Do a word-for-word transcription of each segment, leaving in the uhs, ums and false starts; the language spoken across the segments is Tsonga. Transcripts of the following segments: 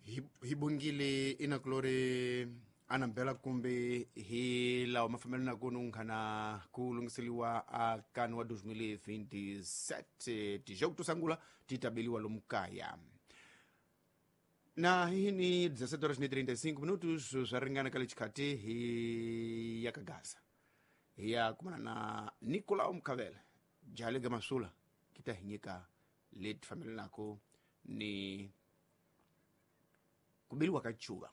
Hi bongile inakulori anambela kumbe hi lawa mafambelano nunkhana ku lunghiseliwa a kanu wa twenty twenty-seven tijogo to sangula ti tabeliwa lomu kaya. Na hi ni dezessete horas e trinta e cinco minutos swa ringana ka le xikhati hi ya ka Gaza hi ya kumana na Nicolau Mkhavele jale ga masula kita hi nyika leti fambelanako ni kubeliwa ka chuva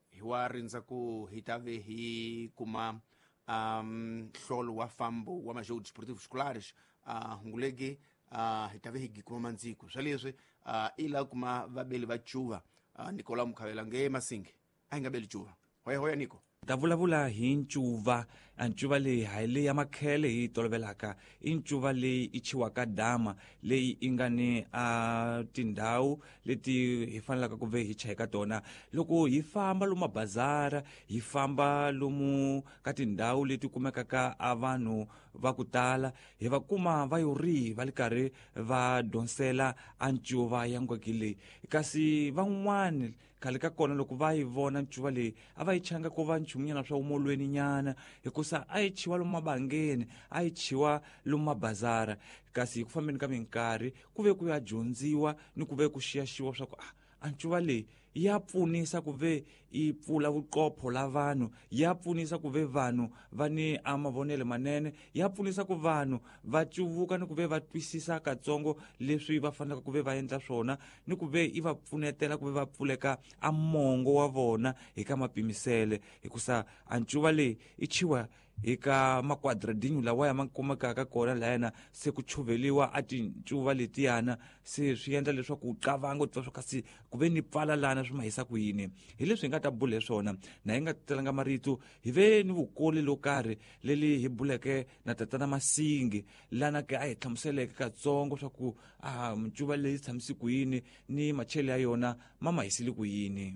hi wa rindza ku hi ta ve hi kuma um hlolo wa fambo wa majogo desportivos escolares a uh, hungulege uh, hi ta ve hi kuma mandziko swa leswi uh, ila kuma vabeli va chuva uh, Nicolau Mkhavela nge Masingi a hi nga beli chuva hoya hoya Nico ta vulavula hi ncuva a ncuva leyi hayi leyi ya makhele hi yi tolovelaka i ncuva leyi i chiwaka dama leyi i nga ni a tindhawu leti hi fanelaka ku ve hi chayeka tona loko hi famba lomu mabazara hi famba lomu ka tindhawu leti kumekaka a vanhu va ku tala hi va kuma va yo ri va li karhi va donsela a ncuva ya ngweki leyi kasi van'wani khale ka kona loko va yi vona ncuva leyi a va yi changa ko va nchumunyana swa umolweni nyana hikusa a yi chiwa lomu mabangeni a yi chiwa lomu mabazara kasi hi ku fambeni ka minkarhi ku ve ku ya dyondziwa ni ku ve ku xiyaxiwa swa ku ah a ncuva leyi ya pfunisa ku ve i pfula vuqopho la vanhu ya pfunisa ku ve vanhu va ni a mavonelo manene ya pfunisa ku vanhu va cuvuka ni ku ve va twisisa katsongo leswi va fanelaka ku ve va endla swona ni ku ve i va pfunetela ku ve va pfuleka a mongo wa vona hi ka mapimisele hikusa a ncuva leyi i chiwa hi ka makwadradinho lawa ya ma kumekaka kona layana se ku chuveliwa a tincuva letiyana se swi endla leswaku u qavanga u twa swa kasi ku ve ni pfala lana swi ma hisa ku yini hi leswi hi nga ta bula hi swona na hi nga talanga marito hi ve ni vukoli lo karhi leli hi buleke na tatana Masingi lana ke a hi hlamuseleke katsongo swa ku a ncuva leyi tshamisi ku yini ni machele ya yona ma ma hisile ku yini.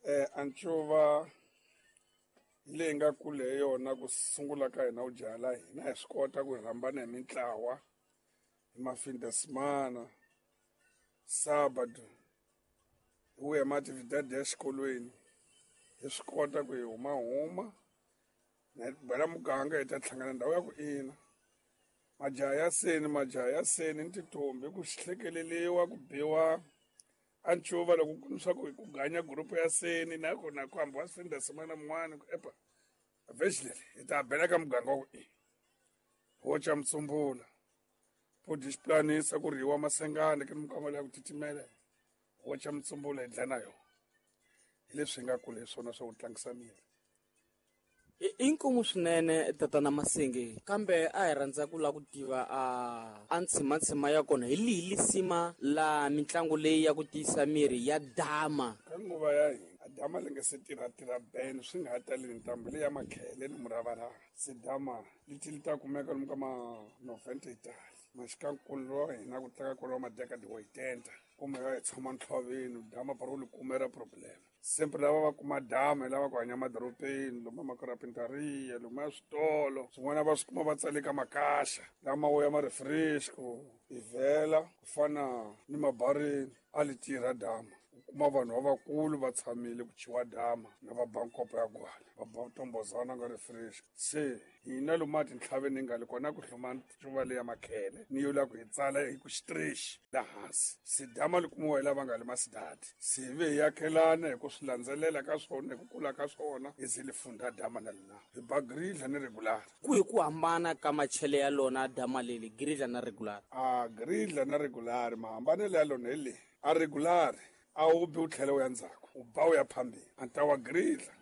Eh a ncuva leyi nga kule hi yona ku sungula ka hina u jala hina hi swi kota ku hi rhambana hi mintlawa hi mafindesemana sábado hi vuya maatividade ya xikolweni hi swi kota ku hi huma huma na hi bela muganga hi ta hlangana ndhawu ya ku ina majaha ya seni majaha ya seni ni tintombi ku hlekeleliwa ku biwa a ncuva loko ku swa ku ku ganya group ya seni na ku na ku hambi wa findesemana mun'wana ku epa vexilele hi ta bela ka muganga wa ku i ho ca mutsumbula po disiplanisa ku rhiwa masengane ke mukama ya ku titimela ho ca mutsumbula hi dla na yona hi leswi hi nga kula hi swona swa ku tlangisa miri. I nkomu swinene tatana Masingi kambe a hi rhandza ku lava ku tiva a a ntshimatshima ya kona hi lihi lisima la mitlangu leyi ya ku tiyisa miri ya dama ka nguva ya hina a dama li nga se tirha tirha ben swi nga ha tali ntambu leyi ya makhele ni muravarava se dama leti li ta kumeka lomu ka ma noventa itali maxikankulu wa hina ku tlanga kona wa madekadi wa oitenta kumbe va hi tshama ntlhoveni dama paro li kumera problem sempre lava va kuma dama hi lava ku hanya madorobeni lomu makarapintaria lomu ya switolo swin'wana va swi kuma va tsale ka makaxa lama wo ya ma refresco hi vhela ku fana ni mabarini a li tirha dama u kuma vanhu lavakulu va tshamile ku chiwa dama na va ba nkopo ya gwala va ba tombozana nga refresco se hina lomu a tintlhaveni hi nga le kona ku hluma ncuva leya makhele ni yo la ku hi tsala hi ku xitrexi la hansi se dama li kumiwa hi lava nga le masidadi se hi ve hi yakhelana hi ku swi landzelela ka swona hi ku kula ka swona hi ze li funda dama na lina hi ba gridla ni regular. Ku hi ku hambana ka machele ya lona dama leli gridla na regular a gridla na regular mahambanelo ya lona hi leyi a regular a wu bi u tlhela u ya ndzhaku u ba u ya phambili a ta wa gridla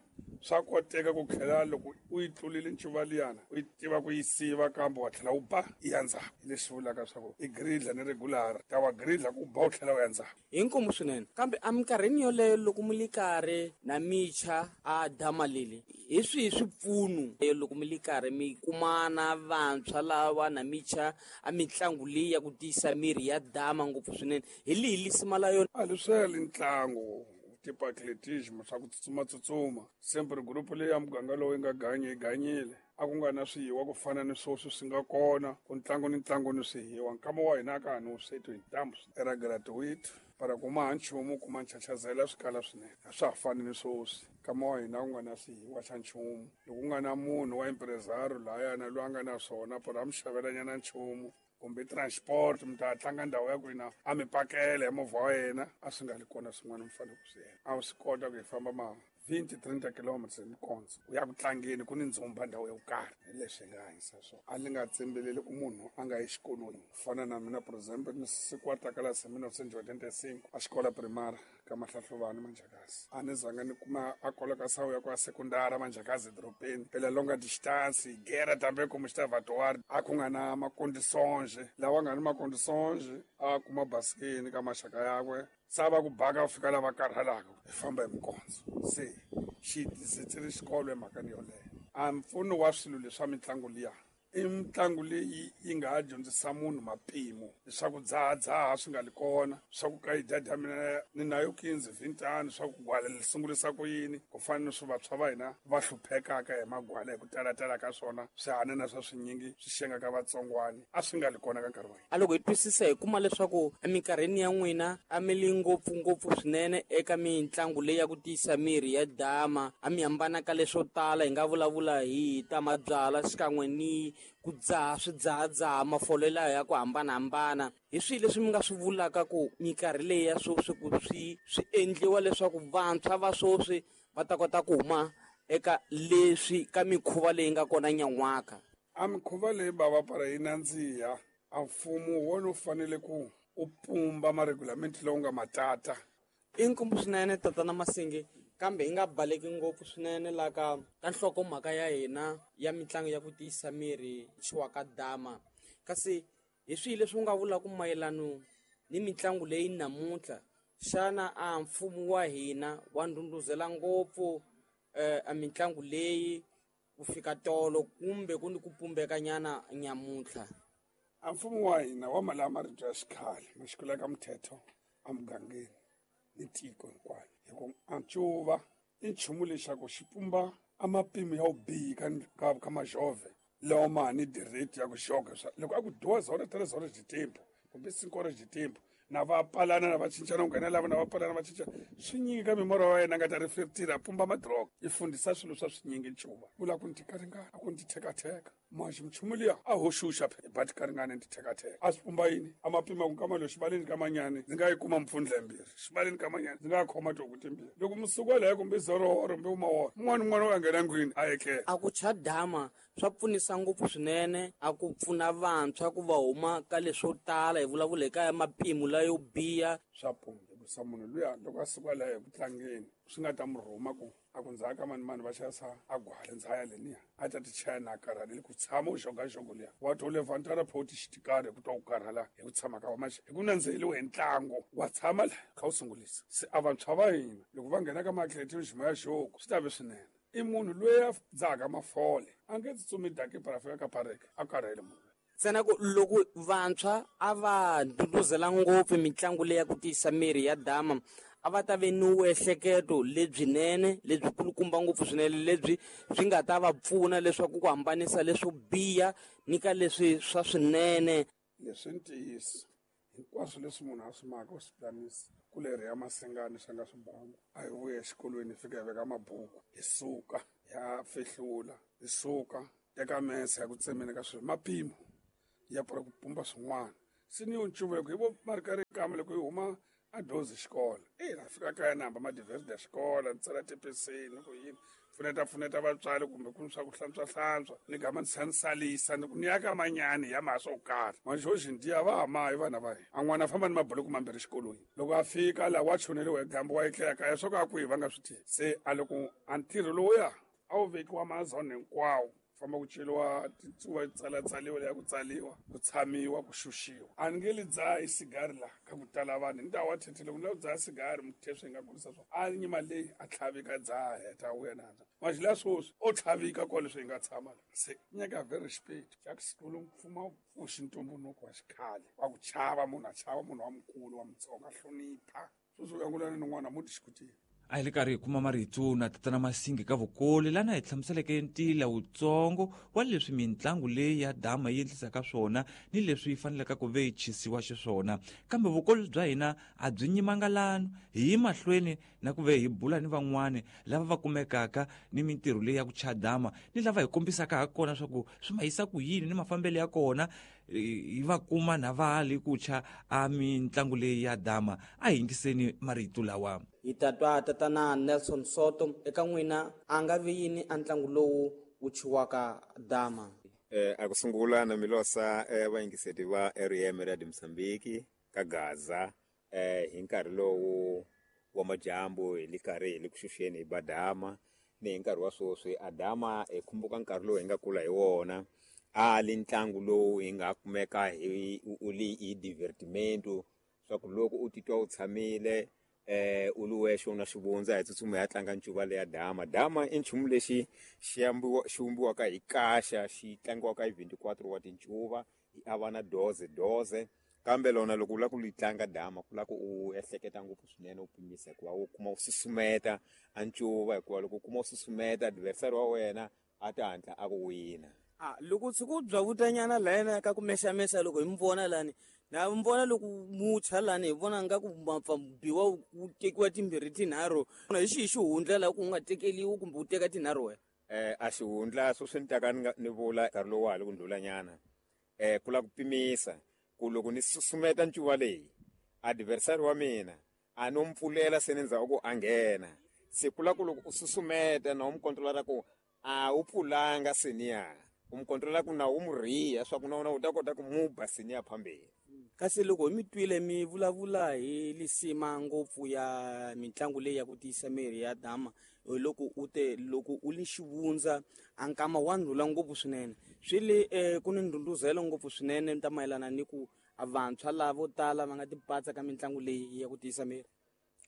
swa koteka ku tlhela loko u yi tlulile ncuva liyana u yi tiva ku yi siva kambe wa tlhela u ba i ya ndzhaku hi leswi vulaka swa ku i gridla ni regular ta wa gridla ku ba u tlhela u ya ndzhaku. Hi nkomu swinene kambe eminkarhini yoleyo loko mi li karhi na micha a dama leli hi swihi swipfuno loko mi li karhi mi kumana vantshwa lava na micha a mitlangu leyi ya ku tiyisa miri ya dama ngopfu swinene hi lihi lisima la yona? A leswi ntlangu tipo atletismo swa ku tsutsuma tsutsuma sempre group leyi ya muganga lowu yi nga ganyi yi ganyile A ku nga na swihiwa ku fana ni swoswi swi nga kona ku ntlangu ni ntlangu ni swihiwa nkama wa hina ka ha ni wusweti hi ntambu era graduate para kuma ha nchumu kuma nchachazela swi kala swinene a swa ha fani ni swoswi nkama wa hina ku nga na swihiwa xa nchumu loko ku nga na munhu wa impresario lahayana loyi a nga na swona para a mi xavelanyana nchumu kumbe transport mi ta tlanga ndhawu ya kwina a mi pakela hi movha wa yena a swi nga li kona swin'wana mi fanele ku swi endla a wu swi kota ku hi famba ma twenty thirty kilometers hi mikondzo u ya ku tlangeni ku ni ndzumba ndhawu yo karhi hi leswi hi nga hanyisa swona a li nga tshembeleli ku munhu a nga yi xikolweni ku fana na mina for example ni siku wa takalasi hi mille novecentos e oitenta e cinco a xikola primary ka Mahlahluvani Manjakazi a ni zanga ni kuma a koloka sawu ya ku a sekundara Manjakazi edorobeni pela longa distance gera tambe como estava atuar a ku nga na macondições lawa nga ni macondições a kuma basikeni ka maxaka yakwe sava ku baka ku fika lava karhalaka hi famba hi mikondzo se xi tisetsele xikolo emhakeni yoleyo a mpfuno wa swilo leswa mitlangu liya i mitlangu leyi yi nga ha dyondzisa munhu mapimo leswaku dzahadzaha swi nga li kona swa ku ka yi dya mina ni nayo quinze vintano swa ku gwala li sungurisa ku yini ku fana ni swi vantshwa va hina va hluphekaka hi magwala hi ku talatala ka swona swihanana swa swinyingi swi xengaka vatsongwani a swi nga li kona ka nkarhi wa hina. A loko hi twisisa hi kuma leswaku eminkarhini ya n'wina a mi li ngopfungopfu swinene eka mitlangu leyi ya ku tiyisa miri ya dama a mi hambana ka leswo tala hi nga vulavula hi ta mabyala xikan'we ni ku dzaha swidzahadzaha mafolo lawa ya ku hambanahambana hi swihi leswi mi nga swi vulaka ku minkarhi leyi ya sweswi ku swi swi endliwa leswaku vantshwa va sweswi va ta kota ku huma eka leswi ka mikhuva leyi nga kona nyan'waka? A mikhuva leyi bava para yi nandziha a mfumo wona wu fanele ku u pumba maregulamenti lowu nga matata. I nkombo swinene tatana Masingi kambe hi nga baleki ngopfu swinene la ka ka nhlokomhaka ya hina ya mitlangu ya ku tiyisa miri chiwaka dama kasi hi swihi leswi u nga vulaka mayelano ni mitlangu leyi namuntlha xana a mfumo wa hina wa ndhundhuzela ngopfu eh, a mitlangu leyi ku fika tolo kumbe ku ni ku pumbekanyana nyamuntlha? A mfumo wa hina wa mali marito ya xikhale ma xikolo ka mthetho emugangeni ni tiko hinkwalo hi ku a ncuva i nchumu lexaku xi pumba a mapimo ya vubihi ka ka ka majove lawa ma ni direct ya ku xoka loko a ku duas horas três horas de tempo kumbe cinco horas de tempo na va palana na va cincana ku nghena lava na va palana va cinca swi nyingi ka mimorho wa yena nga ta reflectira a pumba madroga i fundisa swilo swa swinyingi ncuva vula ku ni tikaringana a ku ni tithekatheka maxi nchumu liya a hoxuxa phe ba tikaringana ni tithekatheka a swi pumba yini a mapima ku nkama lowu xibaleni ka manyani ndzi nga yi kuma mpfundla mbirhi xibaleni ka manyani ndzi nga khoma tihuku timbirhi loko musuku waleyo kumbe zero kumbe umaworo un'wana un'wana u ya nghena ndlwini a etlela. A ku cha dama swa pfunisa ngopfu swinene a ku pfuna vantshwa ku va huma ka leswo tala hi vulavula hi ka mapimo layo biha swa pumba hikusa munhu luya loko a suka laha eku tlangeni swi nga ta mu rhuma ku a ku ndzhaka mani mani va xavisa a gwale ndzhaya leniya a ta ti chaya na karhaleli ku tshama u xogaxogo liya wa to levantara photi xitikari hi ku twa ku karhala hi ku tshama ka wa maxe hi ku nandziheliwe hi ntlangu wa tshama la kha wu sungulisa se a vantshwa va hina loko va nghena ka maatletism ya xoku swi ta ve swinene i munhu loyi a dzahaka mafole a nge tsutsumi daki para fika ka pareke a karhele munhu ntsena ku loko vantshwa a va ndhundhuzela ngopfu mitlangu leyi ya ku tiyisa miri ya dama a va ta ve ni vuehleketo lebyinene lebyi kulukumba ngopfu swinene lebyi byi nga ta va pfuna leswaku ku hambanisa leswo biha ni ka leswi swa swinene. Leswi ntiyiso hinkwaswo leswi munhu a swi maka u swi planisa ku leri ya masengani swi nga swi bangu a hi vuya exikolweni hi fika hi veka mabuku hi suka ya fihlula hi suka teka mese ya ku tsemeni ka swilo mapimo ya pfula ku pumba swin'wana se ni yo ncuva loko hi vo marikari kama loko hi huma a dozi xikolo e na fika kaya na hamba madivhesiti ya xikolo ni tsala tipeseni ku yini pfuneta pfuneta vatswari kumbe ku swa ku hlantswa hlantswa ni gama ni ni salisa ni ku ni ya ka manyani ya mha swo karhi manjhoxi ndiya va hamayi vana va hina a n'wana a famba ni mabuloku mambirhi xikolweni loko a fika laha wa choneliwa hi dyambu wa etlela kaya swo ka a kwihi va nga swi tivi se a loko a ntirho lowuya a wu vekiwa mazone hinkwawo famba ku celiwa titsuva tsalatsaliwa leya ku tsaliwa ku tshamiwa ku xuxiwa a ni nge li dzaha sigari laha ka ku tala vanhu ni ta wa thethele ku ni lava ku dzaha sigari muthe swi nga kurisa swona a nyima leyi a tlhavika dzaha heta wuya na maxi la swoswi o tlhavika kwale swi hi nga tshama la se nyika very respect xa ku sikulu mfumo pfuxi ntumbuluko wa xikhale wa ku chava munhu a chava munhu wa mukulu wa mutsonga a hlonipha sweswi u yangulana ni n'wana muti xikutini. A hi le karhi hi kuma marito na tatana Masingi ka Vukoli lana hi hlamuseleke ntila wutsongo wa leswi mitlangu leyi ya dama yi endlisaka swona ni leswi yi faneleke ku ve yi chisiwa xiswona. Kambe vukoli bya hina a byi nyimanga lano, hi yi mahlweni na ku ve hi bula ni van'wani lava va kumekaka ni mintirho leyi ya ku cha dama ni lava hi kombisaka ha kona swa ku swi ma yisa ku yini ni mafambelo ya kona, hi va kuma na va li ku cha a mitlangu leyi ya dama. A hi yingiseni marito lawa. Hi tatwa tatana Nelson Soto, eka n'wina a nga vi yini a ntlangu lowu wu chiwaka dama? Eh, a ku sungula na milosa eh, vayingiseti va R M Radio Mozambique ka Gaza eh, hi nkarhi lowu wa majambu hi le karhi hi le ku xuxeni hi badama ni hi nkarhi wa sweswi a dama hi khumbuka nkarhi lowu hi nga kula hi wona. A li ntlangu lowu hi nga kumeka hi u li hi divertimento swa ku loko u titwa u tshamile eh u li wexe u na xivundza hi tsutsuma ya tlanga ncuva leya dama. Dama i nchumu lexi xi ambiwa xi vumbiwaka hi kaxa xi tlangiwaka hi vintiquatro wa tincuva hi avana doze doze, kambe lona loko u lava ku li tlanga dama ku lava ku u ehleketa ngopfu swinene u pimisa hikuva u kuma u susumeta a ncuva, hikuva loko u kuma u susumeta adversary wa wena a ta hatla a ku wina. Ah, loko tshuku bya vutanyana lana ka ku mexamexa loko hi mi vona lani na mi vona loko mucha lani hi vona nga ku mapfa biwa ku tekiwa timbirhi tinharhu, hi xihi xihundla laha ku nga tekeliwi kumbe u teka tinharhu wena? Eh, a xihundla sweswi ni taka ni nga ni vula nkarhi lowu wa ha le ku ndlulanyana eh, ku lava ku pimisa ku loko ni susumeta ncuva leyi adversary wa mina a no mpfulela se ni ndzhaku ku a nghena, se ku lava ku loko u susumeta na u mi controla ku a wu pfulanga seniya u mi controla ku na u mu riha swa ku na wena u ta kota ku mu ba seniya phambeni. Kasi loko hi mi twile mi vulavula hi lisima ngopfu ya mitlangu leyi ya ku tiyisa miri ya dama, loko u te loko u li xivundza a nkama wa ndlula ngopfu swinene, swi le eh, ku ni ndhundhuzelo ngopfu swinene ta mayelana ni ku vantshwa lavo tala va nga tipatsa ka mitlangu leyi ya ku tiyisa miri.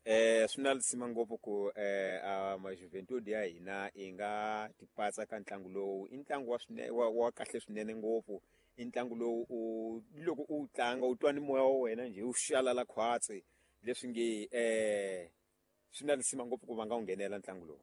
Eh, swi na lisima ngopfu ku eh, a majuventude ya hina yi nga tipatsa ka ntlangu lowu. I ntlangu wa swine, wa, wa kahle swinene ngopfu. I ntlangu lowu u loko u tlanga u twa ni moya wa wena njhe wu xalala khwatsi, leswi nge eh, swi na lisima ngopfu ku va nga wu nghenela ntlangu lowu.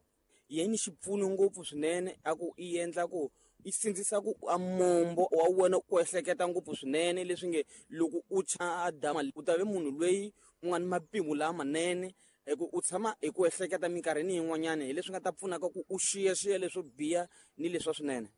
Yini xipfuno ngopfu swinene a ku i endla ku i sindzisa ku a mombo wa wena ku ehleketa ngopfu swinene, leswi nge loko u cha dama u ta ve munhu loyi u nga ni mapimo lamanene, hi ku u tshama hi ku ehleketa minkarhini yin'wanyana, hi leswi nga ta pfunaka ku u xiyaxiya leswo biha ni leswa swinene.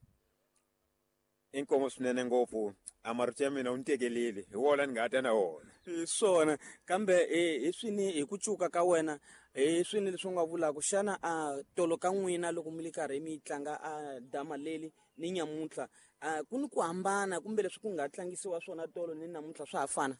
Inkomo swinene ngopfu, a marito ya mina u ni tekelile hi wona ni nga ta na wona. Hi swona, kambe hi swini hi ku cuka ka wena hi swini leswi u nga vulaka xana a tolo ka n'wina loko mi le karhi mi tlanga a dama leli ni nyamuntlha a ku ni ku hambana kumbe leswi ku nga tlangisiwa swona tolo ni namuntlha swa ha fana?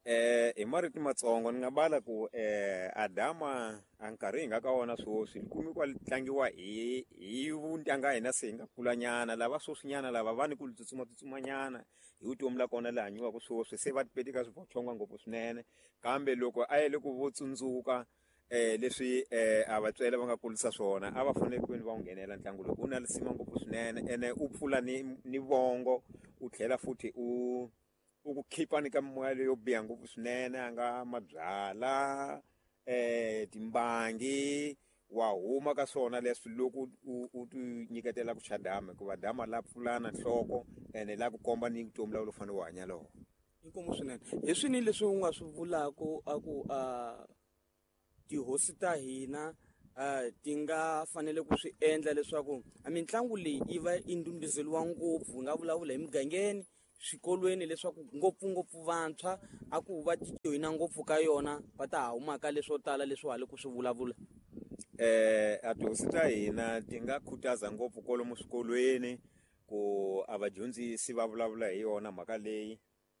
Eh, hi marito matsongo ni nga bala ku eh, a dama a nkarhi hi nga ka wona sweswi li kumi kwa li tlangiwa hi hi vuntanga hina se hi nga kulanyana, lava sweswinyana lava va ni ku li tsutsuma tsutsumanyana hi vutomi la kona laha hanyiwaka sweswi se va tipeti ka swivochonga ngopfu swinene. Kambe loko a yele ku vo tsundzuka eh, leswi eh, a vatswele va nga kulisa swona a va fanele ku va wu nghenela ntlangu lowu, u na lisima ngopfu swinene ene u pfula ni ni vongo u tlhela futhi u u ku khipa ni ka mimoya leyo biha ngopfu swinene a nga mabyala eh, timbangi wa huma ka swona leswi loko u u ti nyiketela ku cha dama, hikuva dama la pfulana nhloko ene la ku komba ni vutomi la u fanele u hanya lona. Inkomu swinene. Hi swini leswi u nga swi vulaka a ku a tihosi ta hina ti nga fanele ku swi endla leswaku a mitlangu leyi yi va yi ndhundhuzeriwa ngopfu, hi nga vulavula hi mugangeni, swikolweni, leswaku ngopfungopfu vantshwa a ku va joyina ngopfu ka yona va ta huma ka leswo tala leswi ha le ku swi vulavula? Eh, a tihosi ta hina ti nga khutaza ngopfu kwalomu swikolweni ku a vadyondzisi va vulavula hi yona mhaka leyi.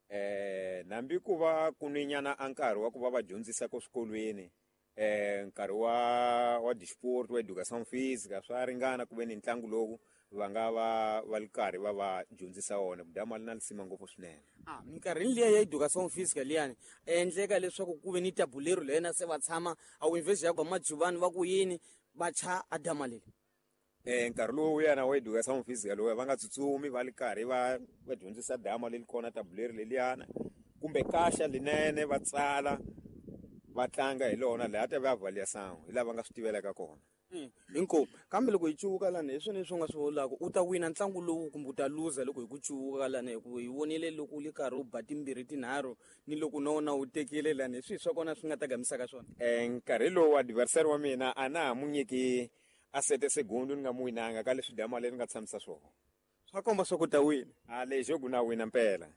Eh, nambi ku va ku ni nyana a nkarhi wa ku va va dyondzisa ko swikolweni eh, nkarhi wa wa disport wa education physique swa ringana ku ve ni ntlangu lowu va nga va va li karhi va va dyondzisa wona, ku dama li na lisima ngopfu swinene. Ah, minkarhini liya ya education physique liyani endleka leswaku ku ve ni tabulero lena se va tshama a wu invest ya ku majuvani va ku yini va cha a dama leli. Eh, nkarhi lowu yana wa education physique lowu va nga tsutsumi va li karhi va va dyondzisa dama leli kona tabulero leliyana kumbe kaxa linene va tsala Va tlanga hi lona laha ta va avaliação hi lava nga swi tivelaka kona. Inkomu kambe loko hi cuvuka lani hi swona leswi u nga swi vulaka u ta wina ntlangu lowu kumbe u ta luza loko hi ku cuvuka lani hi ku hi vonile loko u le karhi u ba timbirhi tinharhu ni loko na wona u tekile lani hi swihi swa kona swi nga ta gamisaka swona. E nkarhi lowu adversary wa mina a na ha mu nyiki a sete segundo ni nga mu winanga ka leswi dama leri nga tshamisa swona. Swa komba swa ku ta wina. A lexo ku na wina mpela.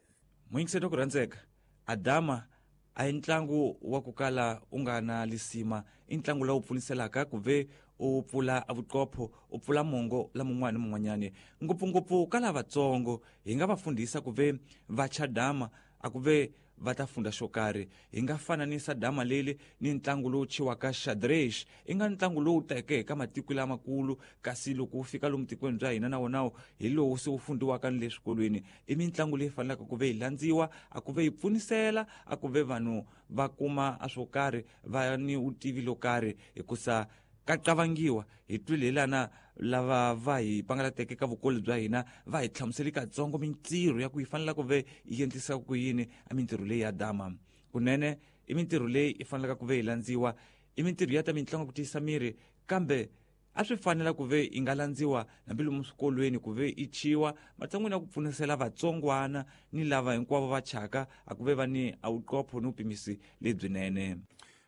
Muyingiseri ku rhandzeka adama a hi ntlangu wa ku kala u nga na lisima i ntlangu lowu pfuniselaka ku ve u pfula vuqopho u pfula mongo la mun'wana ni mun'wanyani ngopfungopfu ka lavatsongo hi nga va fundhisa ku ve va cha dama a ku ve va ta funda xo karhi. Hi nga fananisa dama leli ni ntlangu lowu chiwaka xadrez i nga ntlangu lowu teke ka matiko lamakulu kasi loko wu fika lomu tikweni bya hina na wonawo hi lowu se wu fundiwaka ni le swikolweni. I mitlangu leyi fanelaka ku ve yi landziwa a ku ve yi pfunisela a ku ve vanhu va kuma a swo karhi va ni vutivi lo karhi hikusa ka qavangiwa hi twile hi lana lava va hi pangalateke ka vukoli bya hina va hi hlamuseli katsongo mintirho ya ku yi fanela ku ve yi endlisa ku yini a mintirho leyi ya dama. Kunene i mintirho leyi i fanelaka ku ve yi landziwa i mintirho ya ta mitlangu ku tiyisa miri kambe a swi fanela ku ve yi nga landziwa hambi lomu swikolweni ku ve i chiwa matshan'wini ya ku pfunisela vatsongwana ni lava hinkwavo va chaka a ku ve va ni a vuqopho ni vupimisi lebyinene.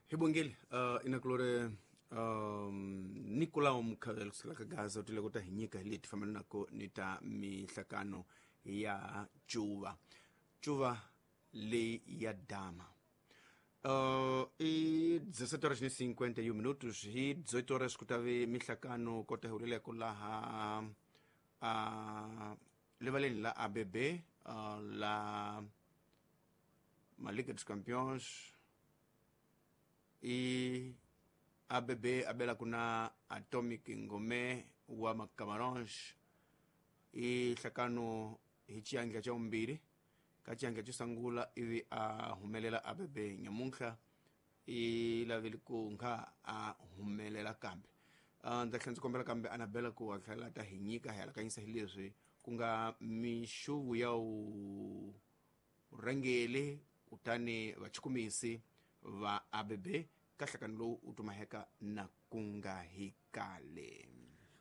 Hi bongile uh, inakulore um Nicolau Mukhavela kusukela ka Gaza u tile ku ta hi nyika hi leti fambelanaka ni ta mihlakano ya cuva cuva leyi ya dama. Uh, i dezessete horas e cinquenta e um minutos hi dezoito horas ku ta ve mihlakano kota hi huleleko laha uh, levaleni la A B B uh, la Liga dos Campeões i A B B abela kuna Atomic Ngome wa Camarões i hlakano hi xiandla xa vumbirhi ka xiandla xo sungula ivi a humelela A B B nyamuntlha i lavile ku nga a humelela kambe. Ndza tlhela ndzi kombela kambe Anabela ku a tlhela ta hi nyika hi alakanyisa hi leswi ku nga mixuvu ya vurhangeli kutani vachukumisi va A B B ka nhlakano lowu u tumaheka na ku nga hi kale.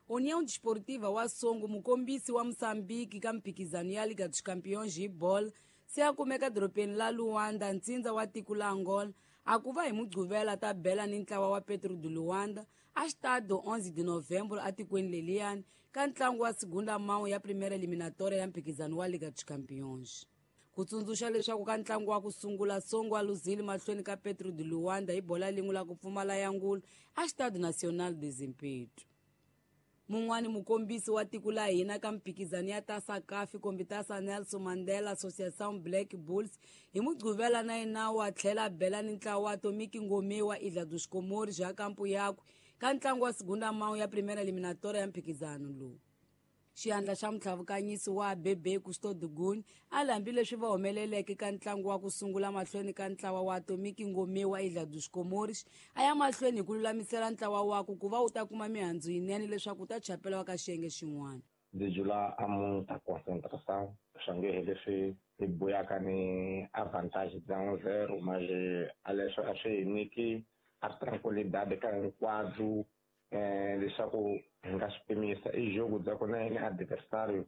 União Desportiva wa Songo mukombisi wa Moçambique ka mphikizano ya Liga dos Campeões hi bolo se a kumeka dorobeni la Luanda ntsindza wa tiko la Angola a ku va hi Mugqivela ta bela ni ntlawa wa Petro de Luanda a Estádio onze de Novembro atikweni leliyani ka ntlangu wa segunda mão ya primeira eliminatória ya mphikizano wa Liga dos Campeões. Ku tsundzuxa leswaku ka ntlangu wa ku sungula Songo a luzile mahlweni ka Petro de Luanda hi bola lin'we la ku pfumala ya ngulu a Estádio Nacional de Zimpeto. Mun'wani mukombisi wa tiko la hina ka mphikizano ya Taça C A F kumbe Taça Nelson Mandela Associação Black Bulls hi Mugqivela na yena wa tlhela bela ni ntlawa wa Atomic Ngome wa Ilha dos Comores ya kampu yakwe ka ntlangu wa segunda mão ya primeira eliminatória ya mphikizano lowu. Xiandla xa mutlhavukanyisi wa A B B Custódio Guni a hambi leswi va humeleleke ka ntlangu wa ku sungula mahlweni ka ntlawa wa Atomic Ngome wa Ilha dos Comores a ya mahlweni hi ku lulamisela ntlawa wakwe ku va wu ta kuma mihandzu yinene leswaku wu ta chapela ka xiyenge xin'wana. Ndzi jula a muta concentração swa nge he leswi hi buyaka ni avantage bya un zero mas a leswo a swi hi nyiki a tranquilidade ka hinkwabyo eh leswaku hi nga swi pimisa i jogo bya ku na yena adversário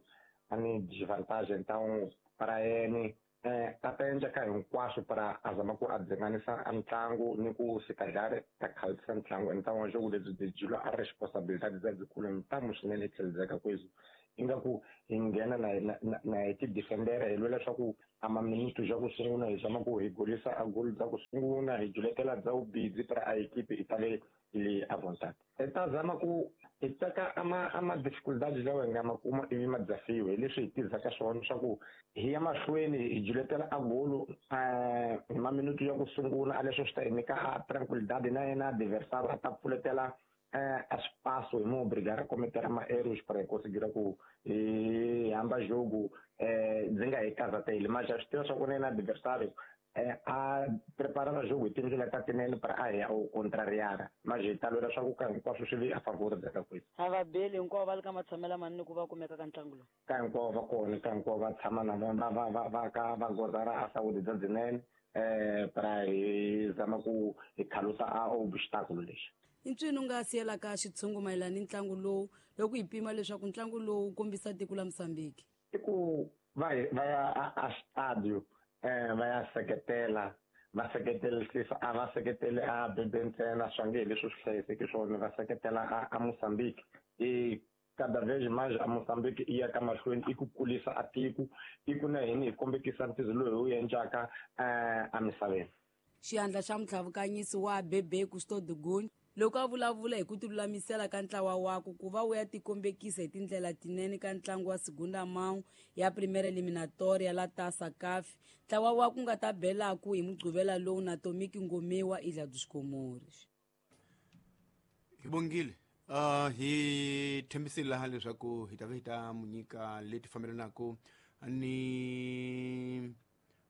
a ni desvantagem então para yena eh ta ta endla ka hinkwaswo para a zama ku a dzinganisa a ntlangu ni ku se calhar ta khalisa ntlangu então o jogo lebyi byi jula a responsabilidade bya byikulu ntamu swinene tlheledzeka kwezi ingaku hi nghena na na na hi ti defendera hi lwela swa ku a maminito ja ku sungula hi zama ku hi golisa a gol bya ku sungula hi juletela bya vubidzi para a equipe i tale le à vontade. Hi ta zama ku hi teka ama ama dificuldades lawa hi nga ma kuma ivi ma desafio hi leswi hi tirhisaka swona swa ku hi ya mahlweni hi juletela a golo hi maminutu ya ku sungula a leswo swi ta hi nyika a tranquilidade na yena adversário a ta pfuletela eh, espaço e me obrigar a cometer ma erros para conseguir ku e hamba jogo eh ndzi hi kaza tele mas já estou só com o adversário eh, a preparar o jogo e tindlela ta tinene para a ya o contrariar mas hi ta lwela swa ku ka hinkwaswo swi vi a favor bya ka a va beli hinkwavo va le ka matshamelo manene ku va kumeka ka ntlangu lowu ka hinkwavo va kona ka hinkwavo va tshama na va va va va ka va gozara a saúde bya byinene eh para hi zama ku hi khalusa a obstáculo lexi i ncwini u nga siyelaka xitshungu mayelana ni ntlangu lowu loko hi pima leswaku ntlangu lowu wu kombisa tiko la Mozambique i ku va va ya a stadio eh va ya seketela va seketelisisa a va seketele a bebe ntsena swa nge leswi swi hlayiseki swona va seketela a, a Mozambique i cada vez mais a Mozambique i ya ka mahlweni i ku kulisa a tiko i ku na hini hi kombekisa ntirho lowu hi wu endlaka eh emisaveni. Xiandla xa mutlhavukanyisi wa Bebe Custo Dugun loko a vulavula hi ku tilulamisela ka ntlawa wakwe ku va wu ya tikombekisa hi tindlela tinene ka ntlangu wa Segunda Mão ya Primeira Eliminatória la Taça C A F ntlawa wa ku nga ta belaku hi Mugqivela lowu na Tomiki Ngomewa Ilha dos Comores. Hi bongile uh, hi tshembisile laha leswaku hi ta va hi ta mu nyika leti fambelanaka ni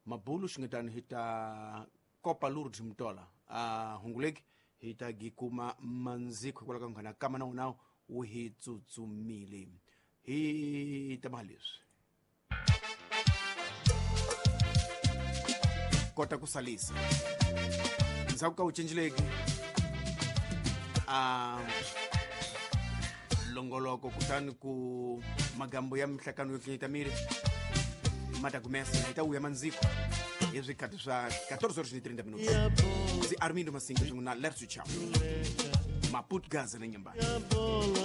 mabulu xingetani hi ta Copa Lourdes Mutola uh, hunguleki hi ta gi kuma mandziko hikwalaho ka nghana kama na wona wu hi tsutsumile hi ta ma leswi kota ku salisa ndzhaku ka wu cinceleki a longoloko kutani ku magambo ya mihlakano yo hlengeta miri ma ta kumesa hi ta wuya mandziko hi swikhathi swa quatorze horas e trinta minutos ndzi Armindo Masinga swin'we na Lerso Chau Maputo Gaza na Nyambani.